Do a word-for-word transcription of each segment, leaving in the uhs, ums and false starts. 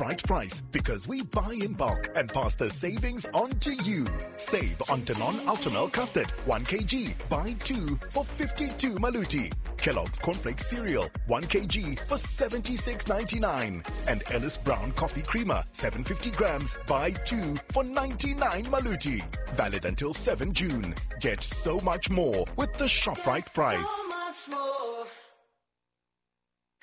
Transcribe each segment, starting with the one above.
Right price, because we buy in bulk and pass the savings on to you. Save on Danone Ultramel Custard, one kilogram, buy two for fifty-two maluti. Kellogg's Cornflakes Cereal, one kilogram for seventy-six ninety-nine. And Ellis Brown Coffee Creamer, seven hundred fifty grams, buy two for ninety-nine maluti. Valid until seventh June. Get so much more with the ShopRite price. So much more.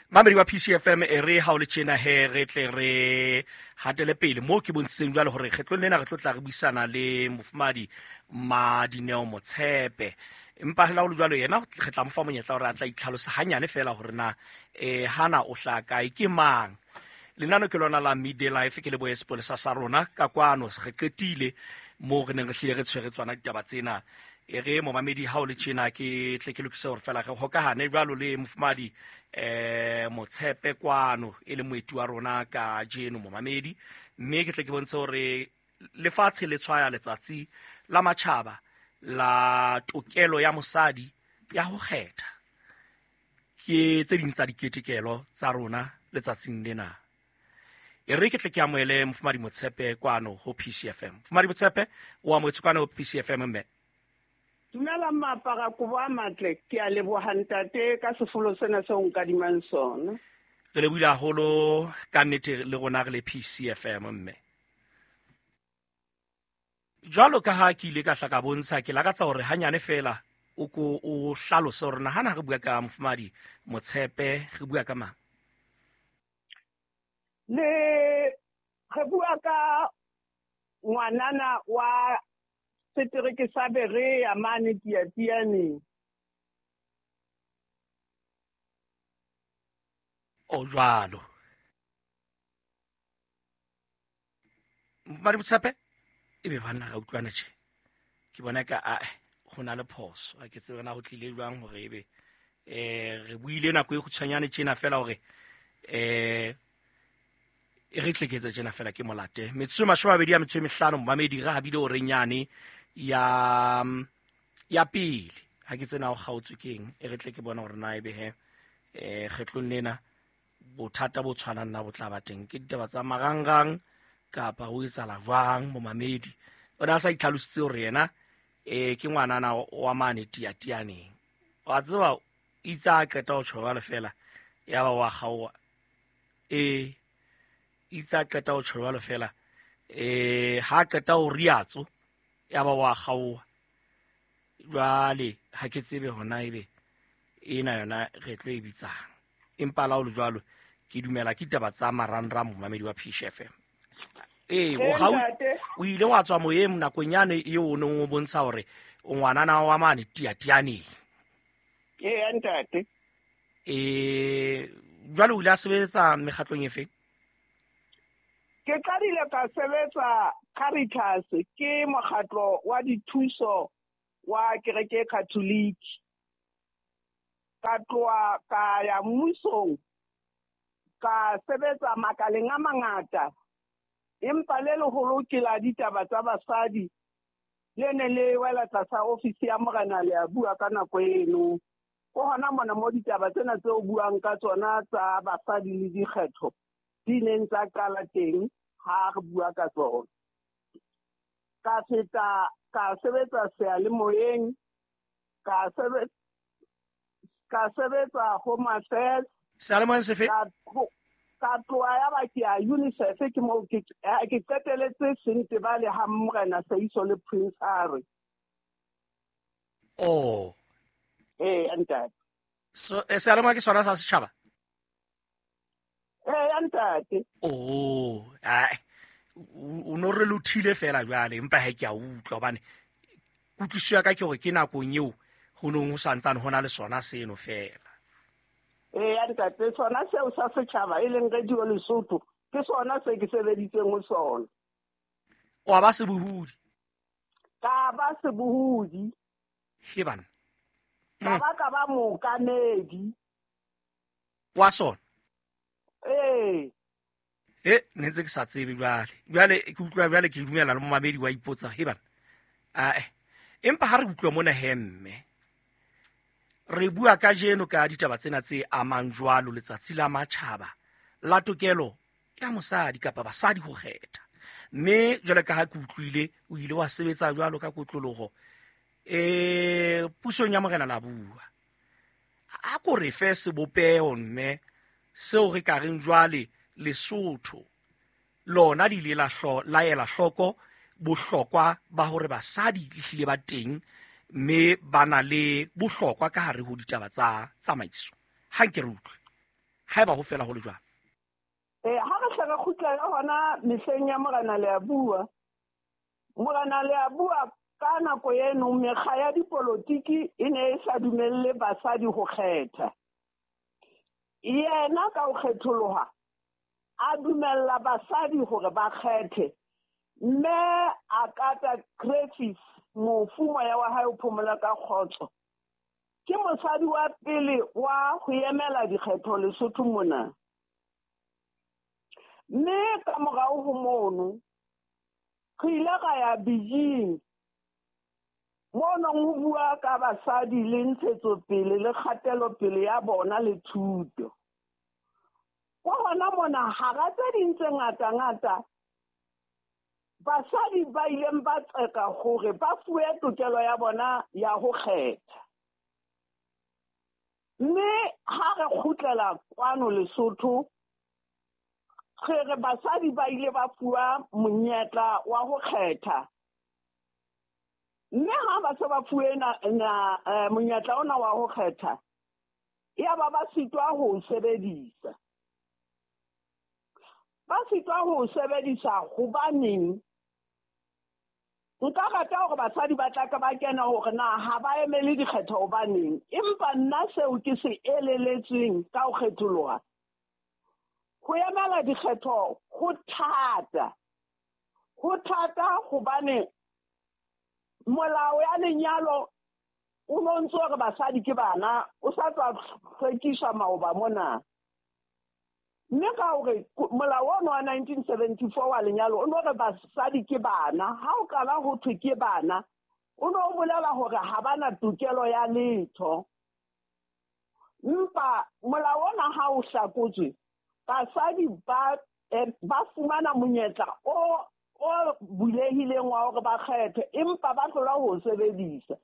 Mamedi wa P C F M e re ha o le tjena he re tle re hatele pele mo ke bontsheng jwale hore kgetlong lena re tlo tla re buisana le mofumadi Madineo Motshepe. Empa ha o le jwalo yena re tla mo fa monyetla hore a tla itlhalosa hanyane fela hore na eh hana o hlaka kae ke mang. Lenano ke lona la Midday Life ke le boye sepolesa sa rona ka kwano re qetile mo re neng re hlile re tshwere tswana ditaba tsena. E re momamedi ha o le tjena ke tle ke lokise hore fela re hokahane jwalo le mofumadi eh Motshepe kwano e le moeti wa rona ka jeno momamedi, mme ke tle ke bontshe hore lefatshe le tshwaya letsatsi la matjhaba la tokelo ya mosadi ya ho kgetha. Ke tse ding tsa diketekelo tsa rona letsatsing lena. E re ke tle ke amohele mofumadi Motshepe kwano ho P C F M. Mofumadi Motshepe o amohetswe kwano ho P C F M mme. Dumela mapara kobo a matle, ke a leboha ntate ka sefolo sena seo nkadimang sona. Re lebohile haholo ka nnete le rona re le P C F M mme. Jwalo ka ha ke ile ka hla ka bontsha, ke lakatsa hore hanyane fela o ko o hlalose hore na hana re bua ka mofumadi Motshepe re bua ka mang? Le re bua ka ngwanana wa setereke sa Berea mane Tiatianeng. O jwalo. Mofumadi Motshepe ebe banna ga utlwana tje. Ke bona ka a ho na le phoso. Ha ke tsebe na ho tlile jwang hore ebe eh re buile nako e kgutshwanyane tjena fela hore eh e re tleketse tjena fela ke molate. Metsotso e mashome a mabedi a metso e mehlano momamedi re habile o renyane ya ya pele. Ha ke tsena ho kgaotswe keng e re tle ke bona hore na ebe he eh kgetlong lena bothata bo tshwanang na bo tla ba teng. Ke ditaba tsa marangrang kapa ho etsahala jwang momamedi. O ne a sa itlhalositse hore yena eh ke ngwanana wa mane Tiatianeng. Wa tseba itse a qeta ho tjho jwalo fela ya ba wa kgaoha. Eh itse a qeta ho tjho jwalo fela eh ha qeta ho riatso ya ba wa kgaoha. Jwale ha ke tsebe hona ebe ena yona re tlo e bitsang. Empa la ho le jwalo ke dumela ke ditaba tsa marangrang momamedi wa P C F M. Eh o ga o ile wa tswa moyeng nakong yane eo o neng o bontsha hore o ngwanana wa mane Tiatianeng. Ee ntate. Eh jwale o ile a sebetsa mekgatlong efe? Ke qadile ka sebetsa Caritas, ke mokgatlo wa dithuso wa kereke Catholic. Ka tloha ka ya mmusong, ka sebetsa makaleng a mangata. Empa le leholo ke la ditaba tsa basadi le ne le wela tlasa ofisi ya morena le a bua ka nako eno. Ko hona mona mo ditaba tsena tseo buang ka tsona tsa basadi le dikgetho di neng tsa qala teng ha re bua ka tsona. Ka feta ka sebetsa seyalemoyeng, ka sebetsa ka sebetsa Home Affairs. Seyalemoyeng sefe? Ka tloha ya ba ke ya UNICEF, ke moo ke ke qeteletse Sentebale ha morena Seiso le Prince Harry. Oh. Eh ntate. So e seyalemoya ke sona sa setjhaba? Eh ntate. Oh, ai o no re lothile fela jwale empa ha ke a utlwa hobane kutlwisiso ya ka ke hore ke nakong eo ho nong ho santsane hona le sona seno fela. Eh ntate, sona seo sa setjhaba e leng Radio Lesotho ke sona se ke sebeditseng ho sona. O ba sebohodi? Ka ba sebohodi. He bana. Ka ba ka ba mookamedi. Wa sona? Eh. E ne ntse ke sa tsebe jwale. Jwale ke utlwa jwale ke dumela le momamedi wa ipotsa he bana. Ah empa ha re utlwa mona he mme re bua ka jeno ka ditaba tsena tse amang jwalo letsatsi la matjhaba la tokelo ya mosadi kapa basadi ho kgetha. Mme jwale ka ha ke utlwile o ile wa sebetsa jwalo ka kotloloho eh pusong ya Morena Labua. A ko re fe sebopeho mme seo re ka reng jwale Lesotho lona le ile la hlo la ela hloko bohlokwa ba hore basadi le hlile ba teng mme ba na le bohlokwa ka hare ho ditaba tsa tsamaiso. Ha nke re utlwe haeba ho fela ho le jwalo. Eh ha re hle re kgutlela hona mehleng ya Morena Leabua. Morena Leabua ka nako eno mekga ya dipolotiki e ne e sa dumelle basadi ho kgetha. Yena ka ho kgetholoha a dumella basadi hore ba kgethe, mme a kata Griffiths mofu moya wa hae o phomola ka kgotso. Ke mosadi wa pele wa ho emela dikgetho Lesotho mona. Mme ka morao ho mono re ile ra ya Beijing mono ho bua ka basadi le ntshetsopele le kgatelopele ya bona le thuto. Kwa hona mona hara tse ding tse ngata-ngata basadi ba ileng ba tseka hore ba fuwe tokelo ya bona ya ho kgetha. Mme ha re kgutlela kwano Lesotho re re basadi ba ile ba fuwa monyetla wa ho kgetha. Mme ha ba se ba fuwe na, na eh, monyetla ona wa ho kgetha, ya ba ba sitwa ho sebedisa. Ba sitwa ho sebedisa hobaneng? Nka rata hore basadi ba tla ka ba kena hore na ha ba emele dikgetho hobaneng, empa nna seo ke se eleletsweng ka ho kgetholoha. Ho emela dikgetho ho thata. Ho thata hobane molao ya lenyalo o no ntso hore basadi ke bana, o sa tswa hlwekiswa maoba mona. Mme ka hore molao ono wa nineteen seventy-four wa lenyalo o no re basadi ke bana, ha o qala ho thwe ke bana, o no bolela hore ha bana tokelo ya letho. Empa molao ona ha o hlakotswe, basadi ba eh, ba fumana monyetla o o bulehileng wa hore ba kgethe, empa ba hlola ho sebedisa.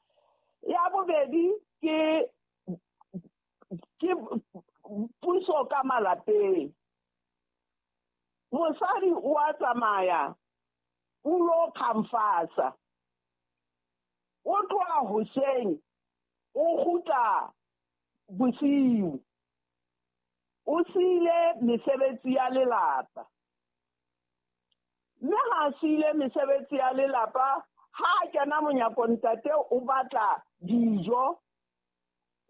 Ya bobedi ke ke puso ka malapeng. Mosadi o a tsamaya o lo khamfasa, o tloha hoseng o kgutla bosiu, o siile mesebetsi ya lelapa. Mme ha siile mesebetsi ya lelapa, ha a kena monyako ntate o batla dijo,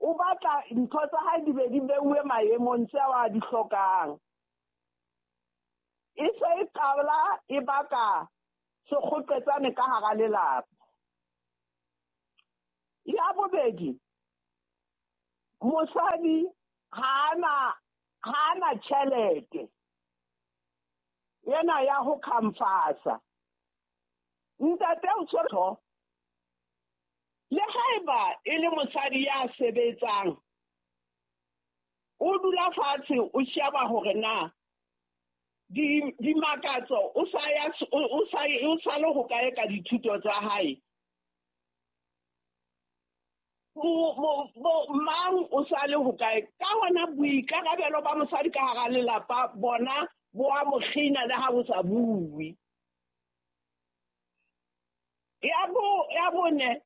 o batla ntho tsa hae di be di beuwe maemong tseo a di hlokang. E se e qala e baka sekgoqetsane ka hara lelapa. Ya bobedi, mosadi ha ana ha ana tjhelete yena ya ho khamfasa. Ntate o tshwere le haeba e le mosadi ya sebetsang, o dula fatshe o sheba hore na di di makatso o sa ya o sa o sa le ho kae ka dithuto tsa hae. Mo mo mang o sa le ho kae ka hona boikarabelo ba mosadi ka hara lelapa bona bo a mo kgina le ha bo sa bue. Ya bo ya bone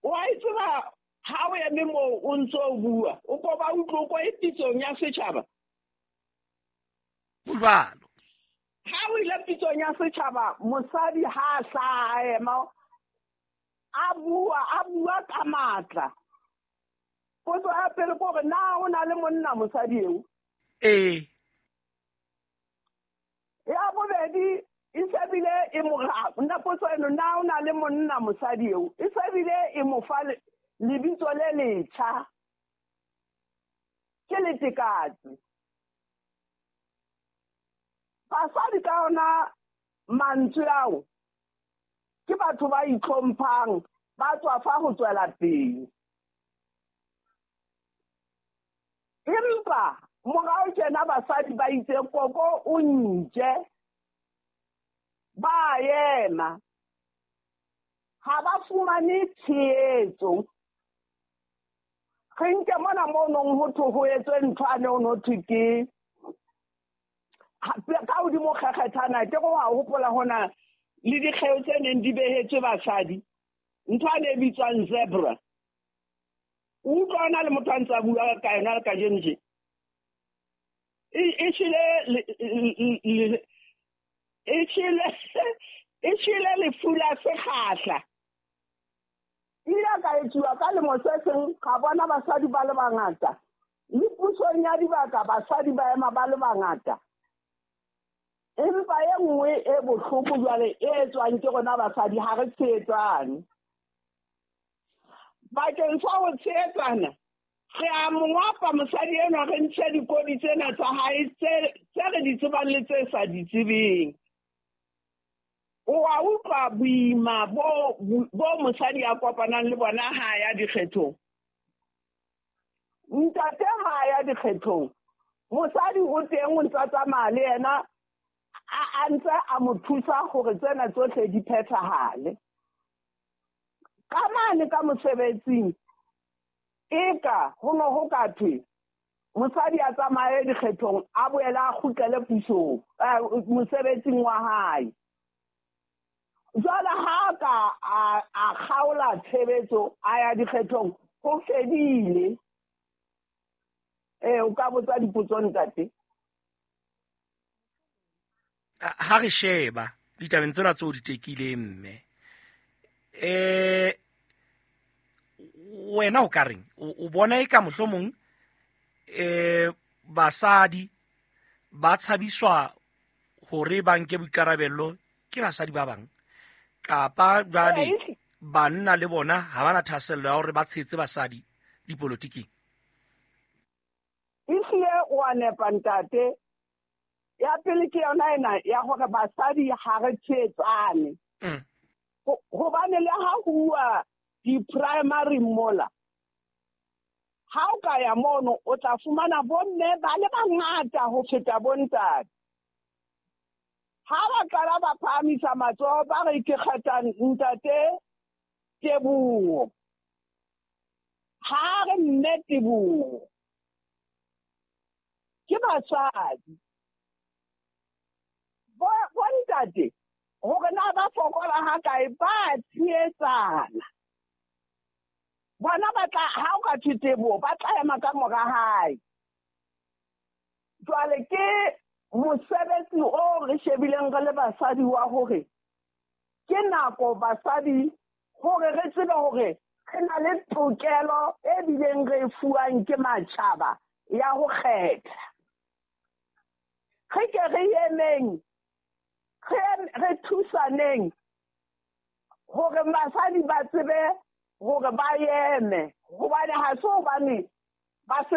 wa itseba ha o eme moo o ntso o bua, o ko ba utlwe ko e pitsong ya setjhaba. Jwalo. Ha o ile pitsong ya setjhaba, mosadi ha a hlaha ema a bua, a bua ka matla. Potso ya pele ke hore na o na le monna mosadi eo? Ee. Ya bobedi e se bile e mo nna potso eno, na o na le monna mosadi eo? E se bile e mo fa lebitso le letjha, ke letekatsi. Basadi ka ona mantswe ao ke batho ba itlhomphang, ba tswa fa ho tswela pele. Empa Morao tjena basadi ba itse koko o nje, ba ema, ha ba fumane tshehetso. Re nke mona mo nong ho thwe ho etswe ntho ane ho no thwe ke ka hodimo kgekgethana, ke go wa hopola hona le dikgeo tse neng di behetswe basadi, ntho ane e bitswang zebra. O utlwa hona le motho a ntse a bua ka yona le kajeno tje. E shile e shile e shile lefu la sekgahla. Ile ka etsuwa ka lemo se seng, ka bona basadi ba le bangata. Le pusong ya dibaka basadi ba ema ba le bangata. Empa e nngwe e bohloko jwale e etswang ke rona basadi ha re tshehetsane. Bakeng sa ho tshehetsana, re a mo ngwapa mosadi enwa, re ntshe dikodi tsena tsa hae tse tse re di tsebang le tse sa di tsebeng. O a utlwa boima bo bo mosadi a kopanang le bona ha ya dikgethong. Ntate ha ya dikgethong, mosadi o teng o ntsa tsamaya le yena, a ntse a mo thusa hore tsena tsohle di phethahale. Ka mane ka mosebetsing, eka ho no ho ka thwe mosadi a tsamaye dikgethong, a boele a kgutlele pusong, mosebetsing wa hae. Jwale ha ka a kgaola tshebetso a ya dikgethong, ho fedile. Eh, o ka botsa dipotso ntate. Ha re sheba ditabeng tsena tseo di tekileng mme, eh wena o ka reng? O bona eka mohlomong eh basadi ba tshabiswa hore ba nke boikarabello ke basadi ba bang, kapa jwale banna le bona ha bana thahasello ya hore ba tshehetse basadi dipolotiking? Ehlile o a nepa ntate. Ya pele ke yona ena ya hore basadi ha re tshehetsane. Hobane le ha ho uwa di-primary mola, ha o ka ya mono o tla fumana bomme ba le bangata ho feta bontate. Ha ba qala ba phahamisa matsoho ba re ke kgetha ntate Teboho, ha re mme Teboho, ke basadi. Bo bontate hore na ba fokola ha kae, ba tshehetsana. Bona ba tla, ha o ka thwe Teboho, ba tla ema ka mora hae. Jwale ke mosebetsi o re shebileng re le basadi wa hore ke nako basadi hore re tsebe hore re na le tokelo e bileng re e fuwang ke matjhaba ya ho kgetha. Re ke re emeng, re thusaneng hore basadi ba tsebe hore ba eme, hobane ha se hobane ba se